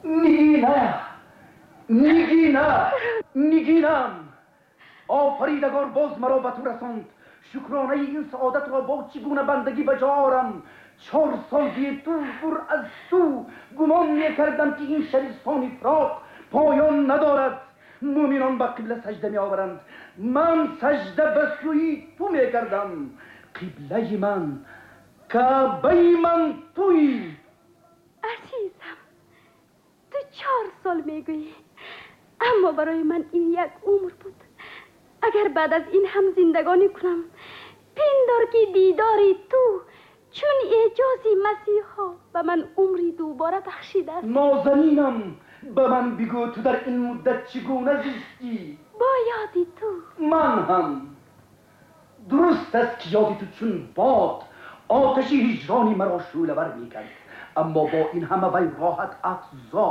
Нигина, Нигина, Нигинам, офаридагор боз маро ба ту расонд. Шукронаи ин саодатро бо чӣ гуна бандагӣ ба ҷо орам? 4 сол дур аз ту гумон мекардам, ки ин шабистони фироқ поён надорад. Мӯминон ба қибла сажда меоваранд, ман сажда ба сӯи ту мекардам. Қиблаи ман, Каъбаи ман туӣ. Азизам, ту 4 сол мегӯӣ, аммо барои ман ин як умр буд. Агар баъд аз ин ҳам зиндагонӣ кунам, пиндор ки дидори ту чун эъҷози масеҳо ба ман умри дубора бахшидааст. Нозанинам, ба ман бигӯ ту дар ин муддат чӣ гуна зистӣ? Бо ёди ту. Ман ҳам. Дуруст аст ки ёди ту чун бод оташи ҳиҷрони маро шӯълавар мекард, аммо бо ин ҳама вай роҳат афзо,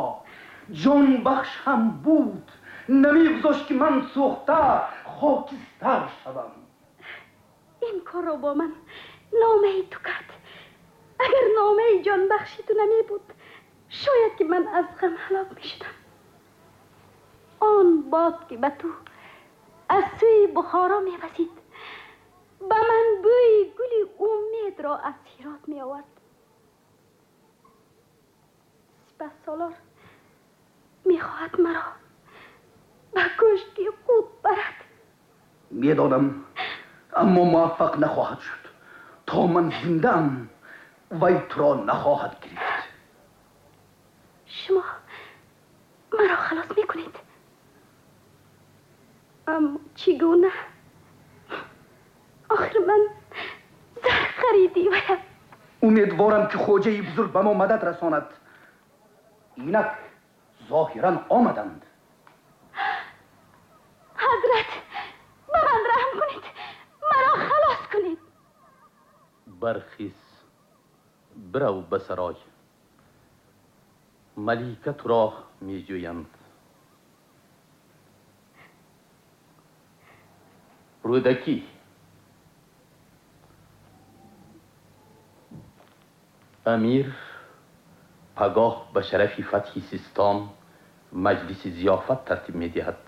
ҷонбахш ҳам буд. Намегузошт ки ман сӯхта хокистар шавам. Ин корро бо ман номаи ту кард. Агар номаи ҷонбахши ту намебуд, шояд ки ман аз ғам ҳалок мешудам. Он бод ки ба ту аз сӯи Бухоро мевазид, ба ман бӯи гули умедро аз Ҳирот меовард. Сипаҳсолор мехоҳад маро ба кӯшки худ барад. Медонам, аммо муваффақ нахоҳад шуд. То ман зиндаам, вай туро нахоҳад гирифт. Шумо маро халос мекунед, аммо чӣ гуна? Охир ман зар хариди ваям. Умедворам ки хоҷаи бузург ба мо мадад расонад. Инак зоҳиран омаданд. Ҳазрат, ба ман раҳм кунед, маро халос кунед. Бархез, бирав ба сарой. Малика туро меҷӯянд. Рӯдакӣ, амир пагоҳ ба шарафи фатҳи Систон маҷлиси зиёфат тартиб медиҳад.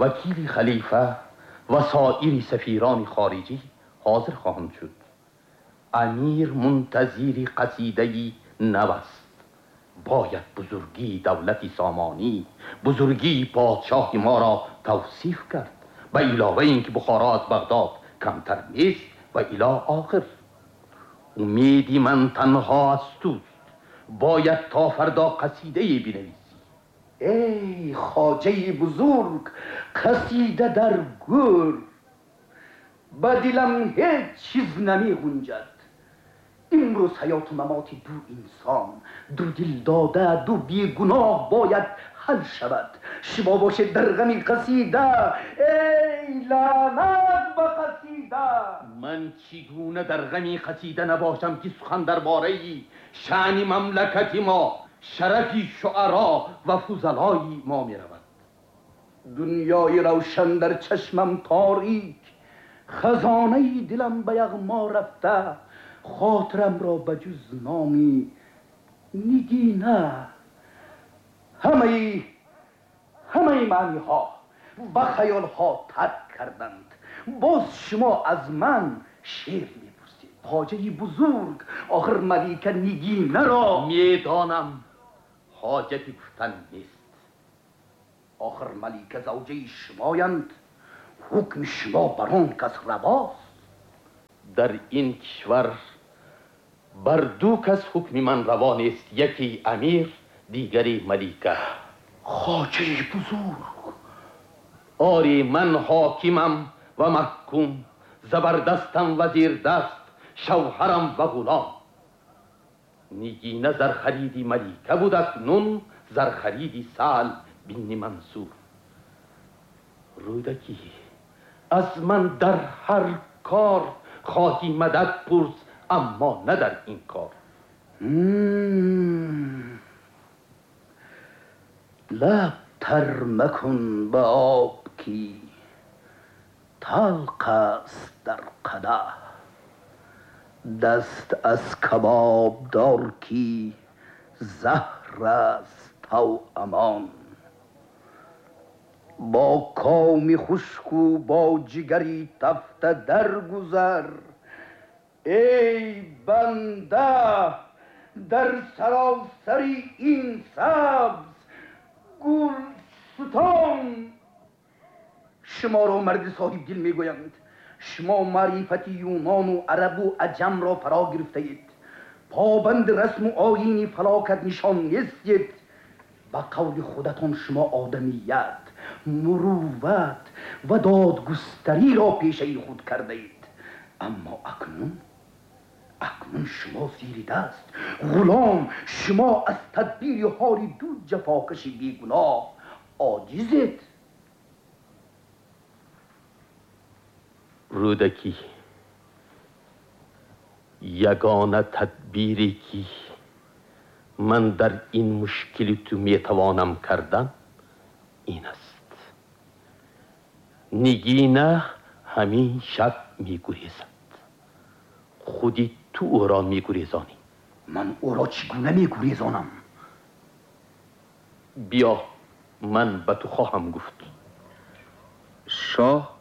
Вакили халифа ва соири сафирони хориҷӣ ҳозир хоҳанд шуд. Амир мунтазири қасидаи нав аст. Бояд бузургии давлати Сомонӣ, бузургии подшоҳи моро тавсиф кард. Ба илова ин ки Бухоро аз Бағдод камтар нест ва ило охир. Умеди ман танҳо аз туст. Бояд то фардо қасидае бинависӣ. Эй хоҷаи бузург, қасида дар гӯр. Ба дилам ҳеҷ чиз намегунҷад. Имрӯз ҳаёту мамоти ду инсон, ду дилдода, ду бегуноҳ бояд ҳал шавад. Шумо бошед дар ғами қасида. Эй лаънат ба қасида! Ман чӣ гуна дар ғами қасида набошам, ки сухан дар бораи шаъни мамлакати мо, шарафи шуаро ва фузалои мо меравад. Дунёи равшан дар чашмам торик, хазонаи дилам ба яғмо рафта, хотирамро ба ҷуз номи Нигина ҳамаи маъниҳо ва хаёлҳо тарк карданд. Боз шумо аз ман шеър мепурсед. Хоҷаи бузург, охир малика Нигинаро медонам, ҳоҷати гуфтан нест. Охир малика завҷаи шумоянд, ҳукми шумо бар он кас равост. Дар ин кишвар бар ду кас ҳукми ман раво нест, яке амир, дигаре малика. Хоҷаи бузург! Ори, ман ҳокимам ва маҳкум, забардастам ва зердаст, шавҳарам ва ғулом. Нигина зархариди малика буд, акнун зархариди Саъл бини Мансур. Рӯдакӣ, аз ман дар ҳар кор хоҳӣ мадад пурс, аммо на дар ин кор. Лаб тар макун ба об, ки талқ аст дар қадаҳ. Даст аз кабоб дор, ки заҳр аст توامان. با کامی خشک و با جگری تفته درگذر، ای بنده در سراسر این سبز گلستان. شما را مرد صاحب دل میگویند. شما معرفت یونان و عرب و عجم را فرا گرفته اید. پابند رسم و آیین فلاکت نشان نیستید. به قول خودتان شما آدمیت، مروت و دادگستری را پیشه خود کرده اید. اما اکنون شما زیر دست غلام، شما از تدبیر حال دو جفاکش بیگناه عاجزید. رودکی، یگانه تدبیری که من در این مشکل تو میتوانم کردن این است. نگینه همین شب میگریزد. خودی تو او را میگریزانی. من او را چگونه میگریزانم؟ بیا من به تو خواهم گفت. شاه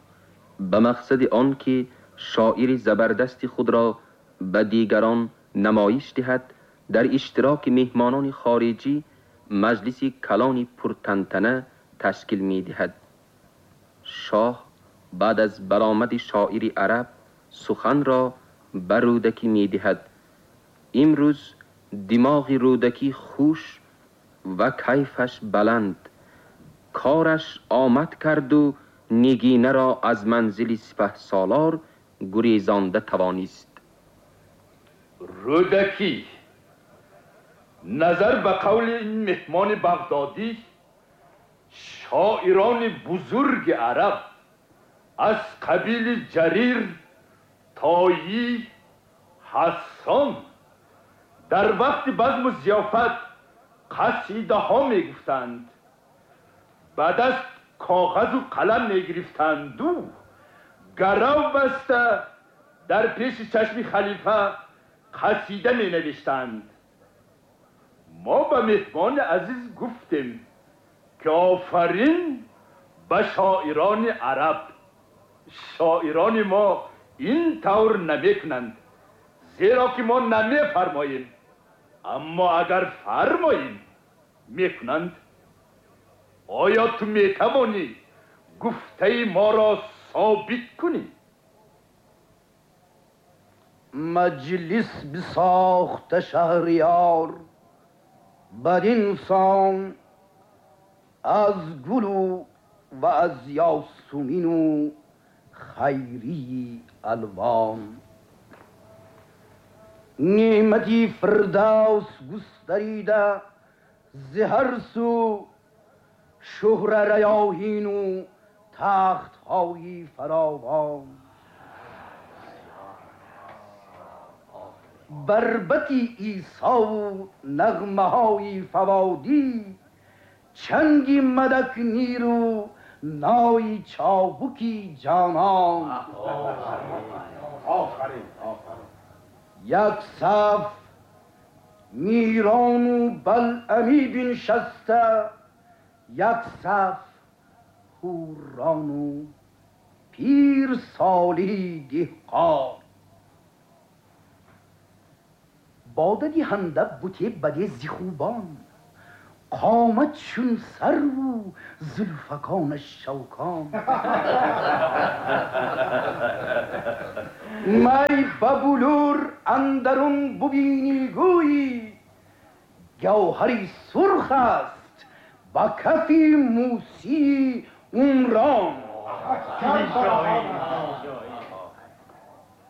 به مقصد آن که شاعر زبردست خود را به دیگران نمایش دهد، در اشتراک مهمانان خارجی مجلس کلان پرتنتنه تشکیل می دهد. شاه بعد از برآمد شاعر عرب سخن را به رودکی می دهد. امروز دماغ رودکی خوش و کیفش بلند، کارش آمد کرد و نگینه را از منزل سپه سالار گریزانده توانست. رودکی، نظر به قول این مهمان بغدادی، شاعران بزرگ عرب از قبیل جریر، تایی، حسان در وقت بزم و ضیافت قصیده ها می گفتند. بعد از کاغذ و قلم می گرفتند و گرو بسته در پیش چشم خلیفه قصیده می نوشتند. ما به مهمان عزیز گفتیم که آفرین به شاعران عرب. شاعران ما این طور نمیکنند، زیرا که ما نمیفرماییم، اما اگر فرماییم میکنند. آیا تو میتوانی گفته ما را ثابت کنی؟ مجلس بساخت شهریار بدین سان، از گل و از یاسمین و خیری الوان. نعمتی فردوس گستریده ز هر سو، شهره ریاحین و تخت‌های فراوان. بربطی عیسی و نغمه‌های فوادی، چنگی مدک نیرو نای چابکی جانان. یک صف میران و بلعمی بنشسته، یک صف حوران و پیر سالی دهقان. باده دهنده بت بد ز خوبان، قامت چون سرو زلفکانش شوکان. می به بلور اندرون ببینی گویی، گوهری سرخ است به کف موسی عمران.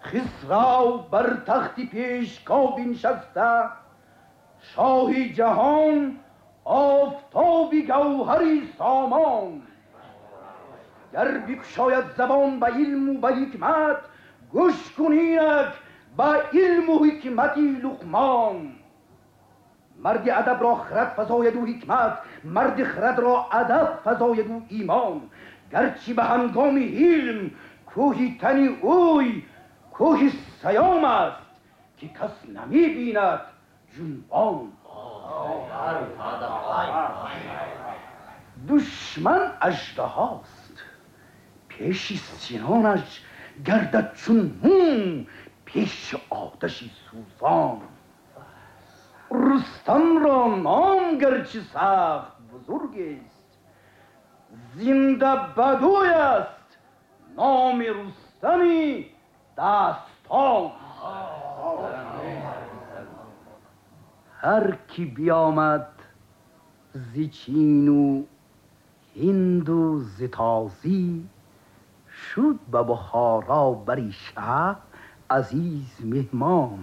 خسرو بر تخت پیشگاه بنشسته، شاه جهان آفتاب گوهری سامان. گر بگشاید زبان به علم و به حکمت، گوش کنینک به علم و حکمت لقمان. مرد ادب را خرد فزاید و حکمت، مرد خرد را ادب فزاید و ایمان. گرچه به هنگام حلم کوه تن اوی کوه سیام است، که کس نمی بیند جنبان. Душман аждаҳост, пеши синонаш гардад чун мум, пеши оташи сӯзон. Рустамро ном гарчи сахт бузург аст, зинда бадӯй аст номи Рустами дастон. Ҳар ки биёмад зи Чину Ҳинду зи тозӣ, шуд ба Бухоро бари шаҳ азиз меҳмон.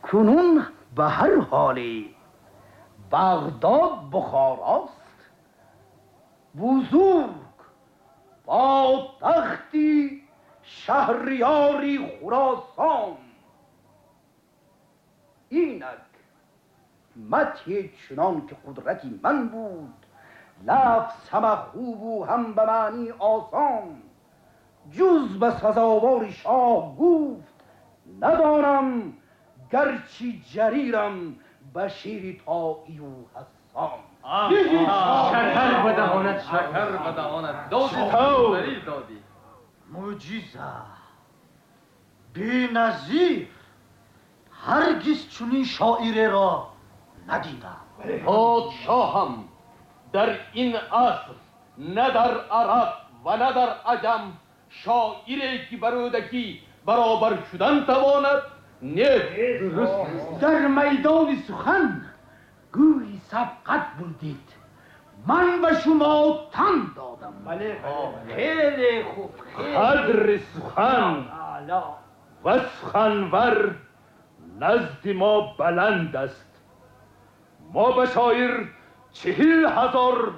Кунун ба ҳар ҳоле Бағдод Бухорост, бузург бо тахти шаҳриёри Хуросон. Инак мадҳе чунон ки қудрати ман буд, лафз ҳама хубу ҳам ба маъни осон. Ҷуз ба сазовори шоҳ гуфт надонам, гарчи ҷарирам ба шири Тоию Ҳассон. Шакар ба даҳонат, шакар ба даҳонат додӣ, додӣ. Мӯъҷиза беназир, ҳаргиз чунин шоиреро надидам. Подшоҳам, дар ин аср на дар араб ва на дар аҷам шоире ки ба Рӯдакӣ баробар шудан тавонад нест. Дар майдони сухан гӯйи сабқат бурдед, ман ба шумо тан додам. Бале, хеле хуб. Қадри сухан ва суханвар назди мо баланд аст. Мо ба шоир 40,000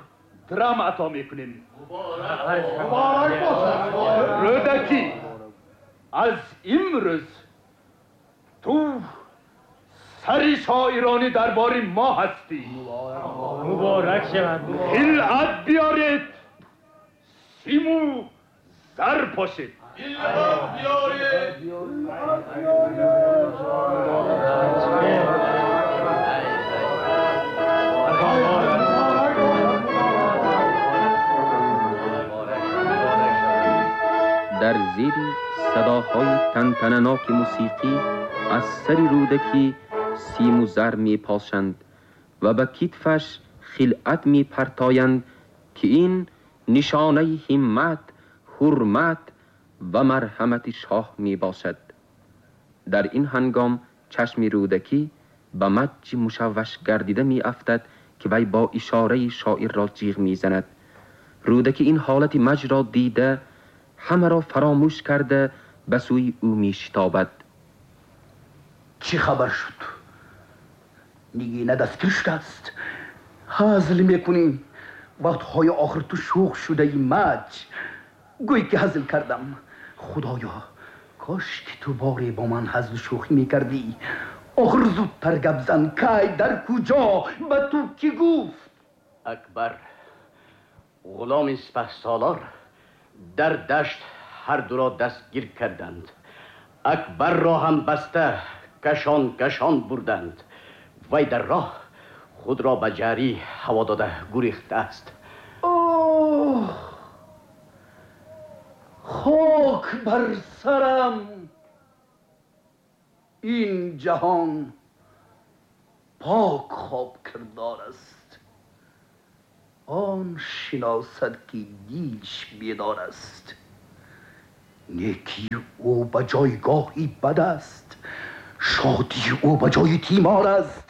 драм ато мекунем. Муборак бошад. Рӯдакӣ, аз имрӯз ту сари шоирони дарбори мо ҳастӣ. Муборак шавад. Хилъат биёред, симу зар пошед. Хилъат биёред. Дар зери садоҳои тантананоки мусиқӣ аз сари Рӯдакӣ симу зар мепошанд ва ба китфаш хилъат мепартоянд, ки ин нишонаи ҳиммат, ҳурмат ва марҳамати шоҳ мебошад. Дар ин ҳангом чашми Рӯдакӣ ба маҷи мушавваш гардида меафтад, ки вай бо ишораи шоирро ҷиғ мезанад. Рӯдакӣ ин ҳолати маҷро дида, ҳамаро фаромӯш карда ба сӯи ӯ мешитобад. Чӣ хабар шуд? Нигина дастгир шудааст. Ҳазл мекунӣ? Вақтҳои охир ту шӯх шудаи маҷ. Гӯй ки ҳазл кардам. Худоё, кош ки ту боре бо ман ҳазлу шӯхӣ мекардӣ. Охир зудтар гап зан, кай, дар куҷо, ба ту кӣ гуфт? Акбар, ғуломи сипаҳсолор, дар дашт ҳар дуро дастгир карданд. Акбарро ҳам баста кашон кашон бурданд. Вай дар роҳ худро ба ҷарӣ ҳаво дода гурехтааст. Оҳ, хок бар сарам! Ин ҷаҳон пок хоб кирдор аст. Он шиносад ки дилш бедор аст. Некии ӯ ба ҷойгоҳи бад аст, шодии ӯ ба ҷои тимор аст.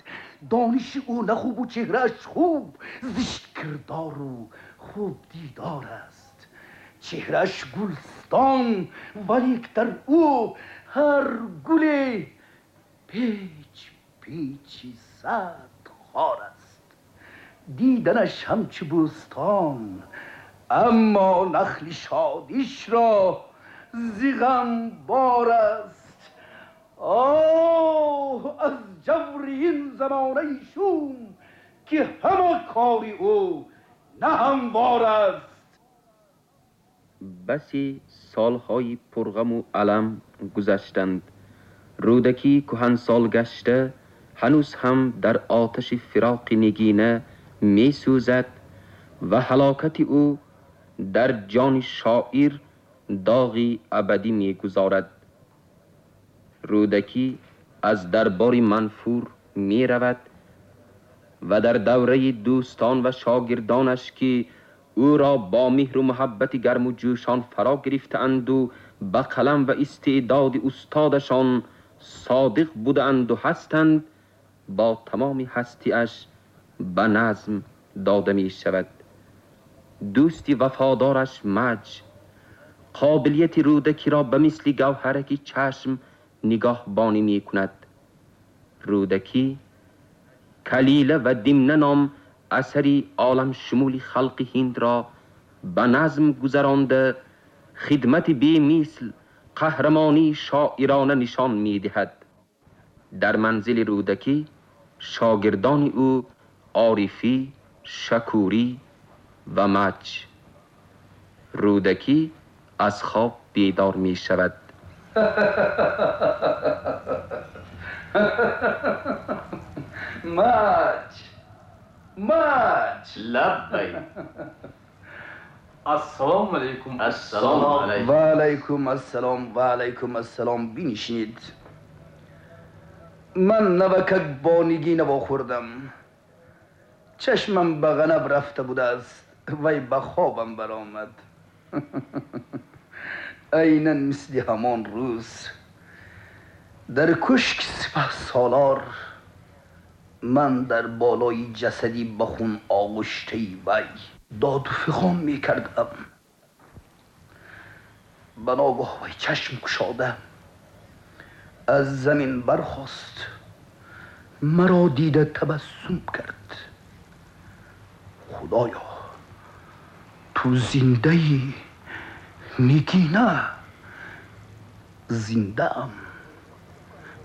Дониши ӯ на хубу чеҳрааш хуб, зишт кирдору хуб дидор аст. Чеҳрааш гулстон, валек дар ӯ ҳар гуле печ печи сад хор аст. Диданаш ҳамчу бӯстон, аммо нахли шодишро зи ғам бор аст. Оҳ, аз ҷаври ин замонаи шум, ки ҳама кори ӯ на ҳамвор аст. Басе солҳои пурғаму алам гузаштанд. Рӯдакӣ кӯҳансол гашта ҳанӯз ҳам дар оташи фироқи нигина میسوزد و هلاکت او در جان شاعر داغی ابدی میگذارد. رودکی از دربار منفور می رود و در دوره دوستان و شاگردانش که او را با مهر و محبت گرم و جوشان فرا گرفتند و به قلم و استعداد استادشان صادق بودند و هستند، با تمام هستیش به نظم داده می شود. دوستی وفادارش مج قابلیت رودکی را به مثل گوهرک چشم نگاهبانی می کند. رودکی کلیله و دمنه نام اثری عالم شمول خلق هند را به نظم گذرانده خدمت بی مثل قهرمانی شاعرانه نشان می دهد. در منزل رودکی شاگردان او عارفی، شکوری و مج. رودکی از خواب بیدار می شود. مج مج لبیک. السلام علیکم. السلام علیکم. و علیکم السلام. و علیکم السلام. بینشینید. من نوکک با نگین خوردم. چشمم به غنب رفته بوده است، وی به خوابم برآمد. عینا مثل همان روز در کشک سپه سالار، من در بالای جسدی به خون آغشته وی داد و فغان می کردم. به ناگاه وی چشم گشاده از زمین برخاست، مرا دیده تبسم کرد. خدایا تو زنده ای؟ نگینه زنده ام.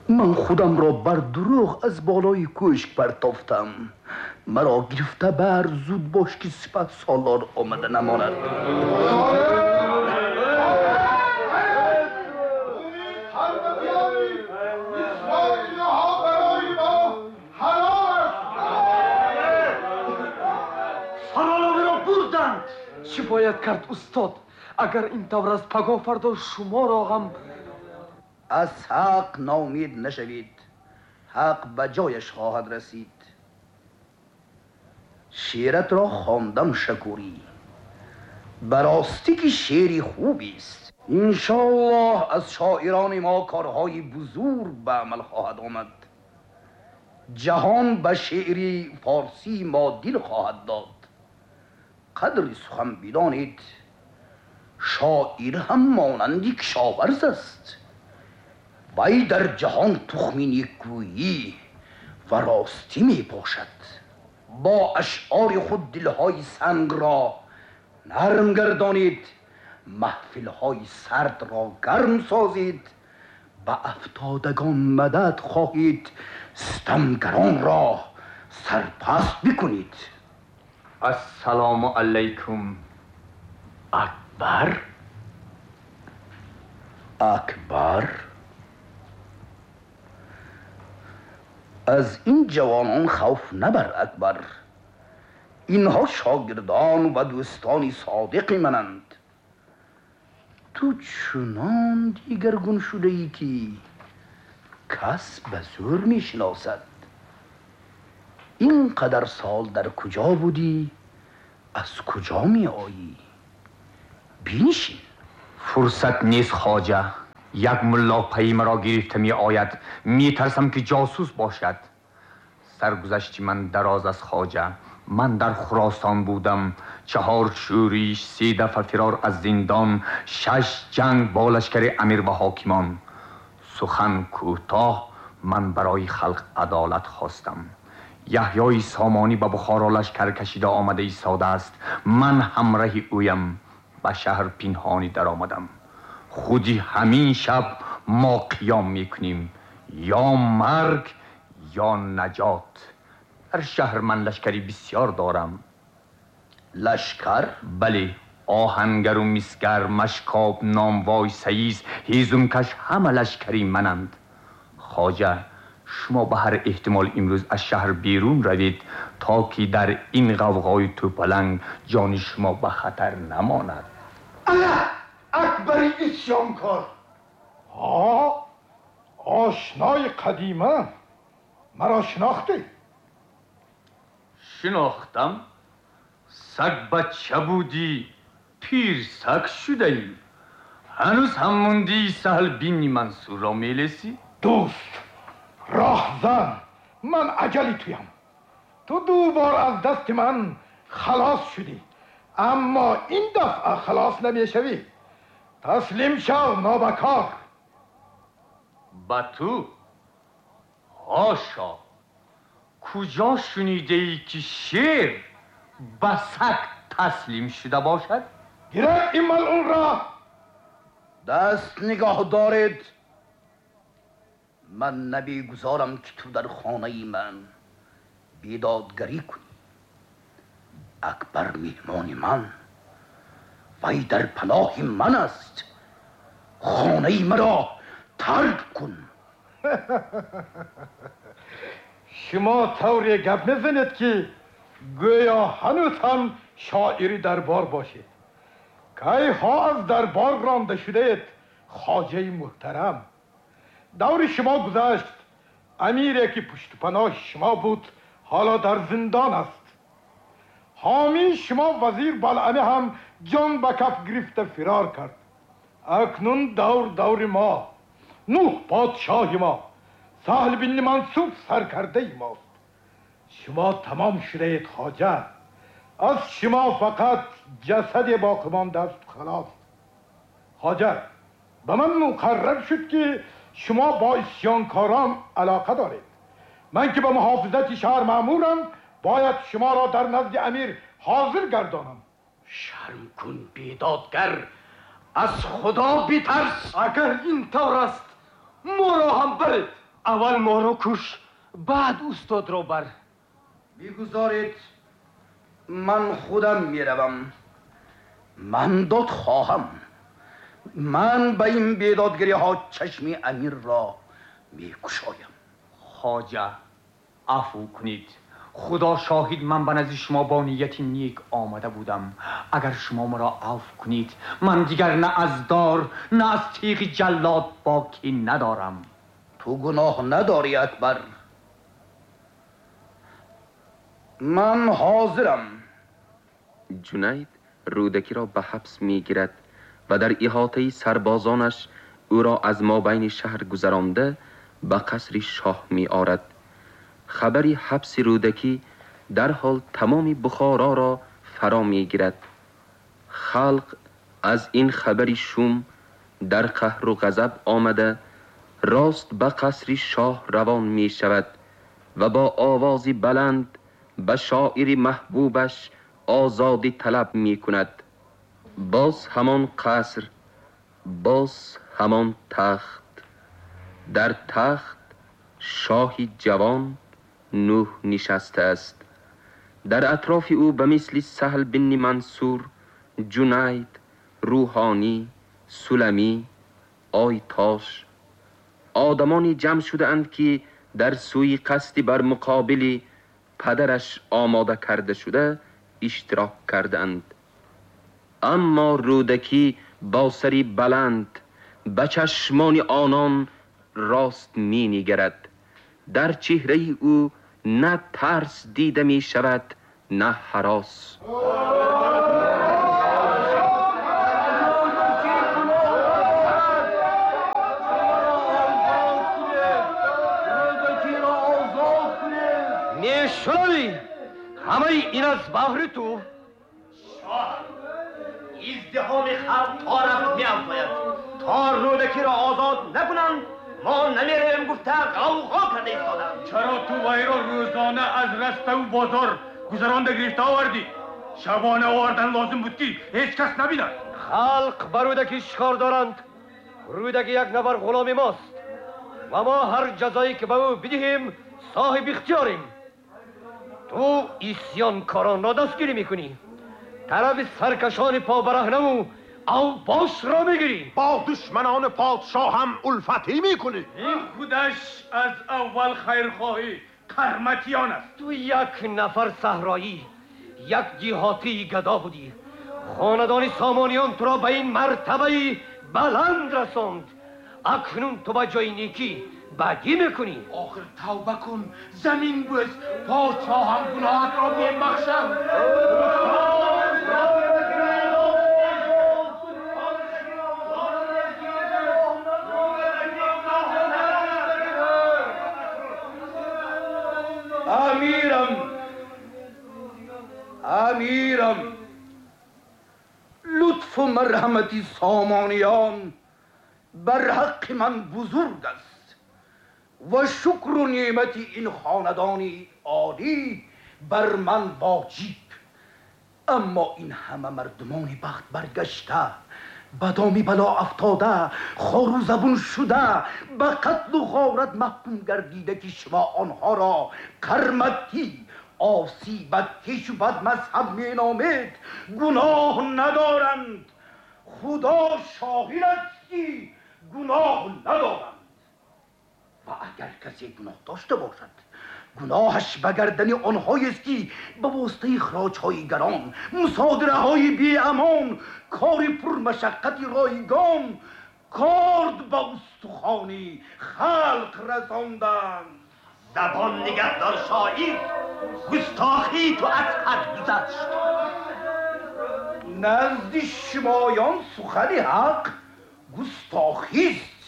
من خودم را بر دروغ از بالای کشک پرتافتم. مرا گرفته بر، زود باش که سپه سالار آمده نماند. چی باید کرد استاد؟ اگر این طور است پگاه فردا شما را هم. از حق ناامید نشوید، حق به جایش خواهد رسید. شعرت را خواندم شکوری، براستی که شعری خوبی است. انشاءالله از شاعران ما کارهای بزرگ به عمل خواهد آمد. جهان به شعری فارسی ما دل خواهد داد. قدر سخن بدانید، شاعر هم مانند کشاورز است. وی در جهان تخمی نیکویی و راستی می پاشد. با اشعار خود دلهای سنگ را نرم گردانید، محفلهای سرد را گرم سازید، به افتادگان مدد خواهید، ستمگران را سرپست بکنید. السلام علیکم. اکبر. اکبر، از این جوانان خوف نبر اکبر. اینها شاگردان و دوستان صادق منند. تو چنان دیگرگون شده ای که کس به زور می شناسد. اینقدر سال در کجا بودی؟ از کجا می آیی؟ بینشین. فرصت نیست خواجه. یک ملا پی مرا گرفته می آید. می ترسم که جاسوس باشد. سرگذشت من دراز از خواجه. من در خراسان بودم. 4 شورش، 3 دفعه فرار از زندان، 6 جنگ با لشکر امیر و حاکمان. سخن کوتاه، من برای خلق عدالت خواستم. یحیای سامانی به بخارا لشکر کشیده آمده ایستاده است. من همراه اویم. به شهر پنهانی در آمدم. خودی همین شب ما قیام میکنیم، یا مرگ یا نجات. در شهر من لشکری بسیار دارم. لشکر؟ بله، آهنگر و مسگر، مشکاب، ناموای، سیز، هیزمکش، همه لشکری منند. خواجه Шумо ба ҳар эҳтимол имрӯз аз шаҳр берун равед, то ки дар ин ғавғои тӯпаланг ҷони шумо ба хатар намонад. Ана Акбари исёнкор. Ҳа, ошнои қадима, маро шинохтӣ? Шинохтам. Саг бача будӣ, пир саг шудаӣ. Ҳанӯз ҳам мондӣ Саҳл бинни Мансурро мелесӣ? Дӯст, роҳзан, ман аҷали туям. Ту ду бор аз дасти ман халос шудӣ, аммо ин дафъа халос намешавӣ. Таслим шав, нобакор. Ба ту? Ҳошо! Куҷо шунидаӣ ки шер ба саг таслим шуда бошад? Гиред ин малъунро! Даст нигоҳ доред. Ман намегузорам ки ту дар хонаи ман бедодгарӣ кунӣ. Акбар меҳмони ман, вай дар паноҳи ман аст. Хонаи маро тарк кун. Шумо тавре гап мезанед ки гӯё ҳанӯз ҳам шоири дарбор бошед. Кайҳо аз дарбор ронда шудаед, хоҷаи муҳтарам. Даври шумо гузашт. Амире ки пуштупаноҳи шумо буд ҳоло дар зиндон аст. Ҳомии шумо вазир Балъамӣ ҳам ҷон ба каф гирифта фирор кард. Акнун давр даври мо, Нӯҳ подшоҳи мо, Саҳл бинни Мансур саркардаи мост. Шумо тамом шудаед, хоҷа. Аз шумо фақат ҷасаде боқӣ мондааст, халос. Хоҷа, ба ман муқаррар шуд ки шумо бо исёнкорон алоқа доред. Ман ки ба муҳофизати шаҳр маъмурам, бояд шуморо дар назди амир ҳозир гардонам. Шарм кун, бедодгар, аз Худо битарс. Агар ин тавр аст, моро ҳам баред. Аввал моро куш, баъд устодро бар. Бигузоред ман худам меравам. Ман дод хоҳам. Ман ба ин бедодгариҳо чашми амирро мекушоям. Хоҷа, афву кунед. Худо шоҳид, ман ба назди шумо бо нияти нек омада будам. Агар шумо маро афв кунед, ман дигар на аз дор, на аз теғи ҷаллод боки надорам. Ту гуноҳ надорӣ, Акбар. Ман ҳозирам. Ҷунайд Рӯдакиро ба ҳабс мегирад ва дар иҳотаи сарбозонаш ӯро аз мобайни шаҳр гузаронда ба қасри шоҳ меорад. Хабари ҳабси Рӯдакӣ дарҳол тамоми Бухороро фаро мегирад. Халқ аз ин хабари шум дар қаҳру ғазаб омада рост ба қасри шоҳ равон мешавад ва бо овози баланд ба шоири маҳбубаш озодӣ талаб мекунад. Боз ҳамон қаср, боз ҳамон тахт. Дар тахт шоҳи ҷавон Нӯҳ нишастааст. Дар атрофи ӯ ба мисли Саҳл бинни Мансур, Ҷунайд, Рӯҳонӣ, Суламӣ, Ойтош одамоне ҷамъ шудаанд ки дар сӯи қасди бар муқобили падараш омода карда шуда иштирок кардаанд. Аммо Рӯдакӣ бо сари баланд ба чашмони онон рост менигарад. Дар чеҳраи ӯ на тарс дида мешавад, на ҳарос. Мешунавӣ? Ҳамаи ин аз баҳри ту. Шоҳ, издиҳоми халқ то рафт меафзояд. То Рӯдакиро озод накунанд, мо намеравем гуфта ғавғо карда истоданд. Чаро ту вайро рӯзона аз раставу бозор гузаронда гирифта овардӣ? Шабона овардан лозим буд ки ҳеҷ кас набинад. Халқ ба Рӯдакӣ шикор доранд. Рӯдакӣ як нафар ғуломи мост ва мо ҳар ҷазое ки ба ӯ бидиҳем соҳиби ихтиёрем. Ту исёнкоронро дастгирӣ мекунӣ. Тарафи саркашони побараҳнаву اوباش را میگیری، با دشمنان پادشاه هم الفتی میکنی. این خودش از اول خیرخواهی قرمطیان است. تو یک نفر صحرایی، یک دیهاتی گدا بودی. خاندان سامانیان تو را به این مرتبه بلند رساند. اکنون تو به جای نیکی بدی میکنی. آخر توبه کن، زمین بوس، پادشاه هم گناهت را میبخشد. امیرم، امیرم، لطف و مرحمت سامانیان بر حق من بزرگ است و شکر و نعمت این خاندان عالی بر من واجب. اما این همه مردمان بخت برگشته، بدامی بلا افتاده، خار و زبون شده، به قتل و غارت محکوم گردیده که شما آنها را قرمطی، آسی، بدکش و بد مذهب می نامید، گناه ندارند. خدا شاهد است که گناه ندارند. و اگر کسی گناه داشته باشد، گناهش به گردن آنهایی است که به واسطه خراج‌های گران، مصادره‌های بی‌امان، کار پرمشقت رایگان، کارد به استخوان خلق رساندند. زبان نگهدار شاعر، گستاخی تو از حد گذشت. نزد شمایان سخن حق گستاخی است.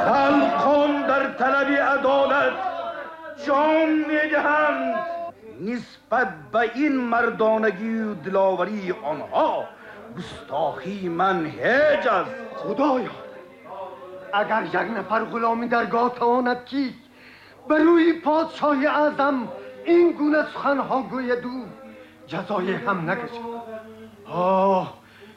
خلقان در طلب عدالت جان می‌دهند. نسبت به این مردانگی و دلاوری آنها گستاخی من هیچ است. خدایا، اگر یک نفر غلامی درگاه تواند که به روی پادشاه اعظم این گونه سخنها گوید، او جزای هم نکشد. آه،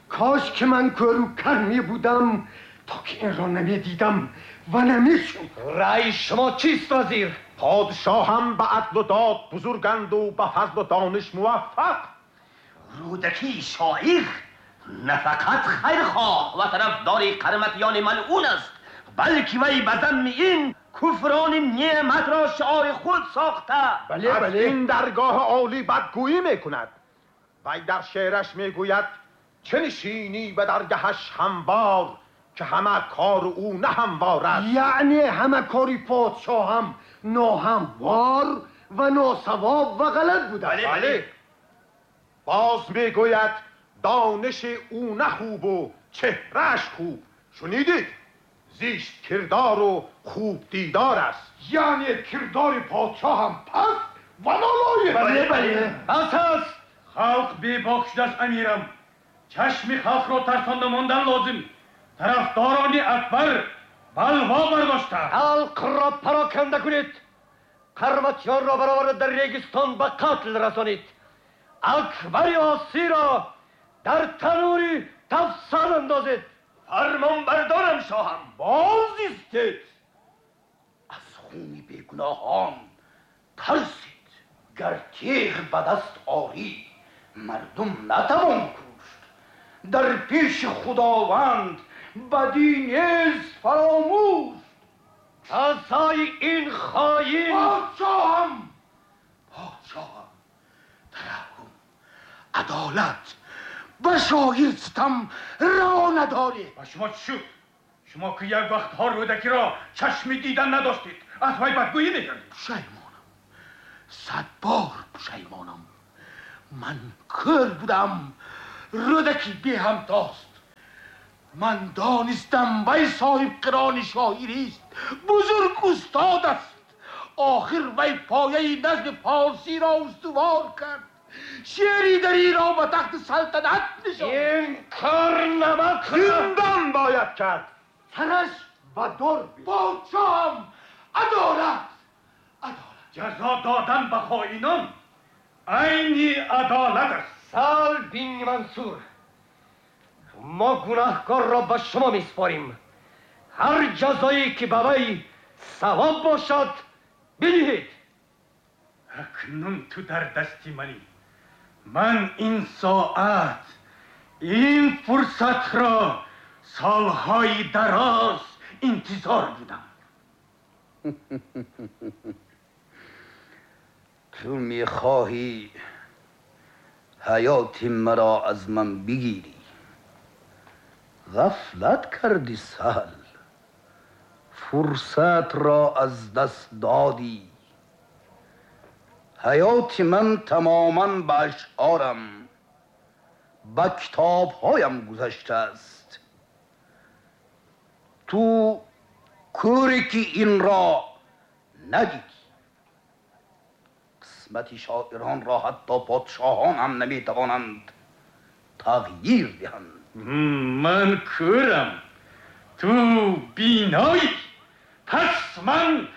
کاش که من کور و کر می بودم تا که این را نمی دیدم و نمی شد. رأی شما چیست وزیر؟ پادشاه هم به عدل و داد بزرگند و به فضل و دانش موفق. رودکی شاعر نه فقط خیرخواه و طرفدار قرمطیان ملعون است، بلکه وی به ذم این کفران نعمت را شعار خود ساخته. بله از بله. این درگاه عالی بدگویی میکند. وی در شعرش میگوید چه نشینی به درگهش هموار، که همه کار او نه هموار است. یعنی همه کاری پادشاه هم ناهموار و ناسواب و غلط بوده. بله بله. باز میگوید دانش او نه خوب و چهرهش خوب. شنیدید؟ زیشت کردار و خوب دیدار است. یعنی کردار پادشاه هم پس و نالایق. بله بله. بس است. خلق بیباک شده است امیرم. چشم خلق را ترسانده ماندن لازم. طرفداران اکبر بلوا برداشته. خلق را پراکنده کنید. قرمطیان را برآورده در ریگستان به قتل رسانید. اکبر آسی را در تنوری تفسان اندازید. فرمان بردارم شاهم. باز ایستید. از خون بیگناهان ترسید. گر تیغ به دست آری مردم نتوان کشت. در پیش خداوند بدی نیز فراموش. جزای این خائن. پادشاهم، پادشاهم، ترحم، عدالت به شاعر ستم روا نداری. و شما چی شد؟ شما که یک وقت ها رودکی را چشم دیدن نداشتید، از وی بدگویی میکردید. پشیمانم، 100 بار پشیمانم. من کور بودم، رودکی بی همتاست. من دانستم وی صاحب قران شاعری است، بزرگ استاد است. آخر وی پایه نظم پارسی را استوار کرد، شعری دری را به تخت سلطنت نشاند. این کار نمک زندان باید کرد، سرش و دار. پادشاهم، عدالت، عدالت. جزا دادن به خائنان عین عدالت است. سال بن منصور، ما گناهکار را به شما میسپاریم. هر جزایی که به وی ثواب باشد بدهید. اکنون تو در دست منی. Ман ин соат, ин фурсатро солҳои дароз интизор будам. Ту мехоҳӣ ҳаёти маро аз ман бигирӣ. Ғафлат кардӣ, Саҳл, фурсатро аз даст додӣ. Ҳаёти ман тамоман ба ашъорам, ба китобҳоям гузаштааст. Ту кӯре ки инро надидӣ. Қисмати шоиронро ҳатто подшоҳон ҳам наметавонанд тағйир диҳанд. Ман кӯрам, ту биноӣ. Пас ман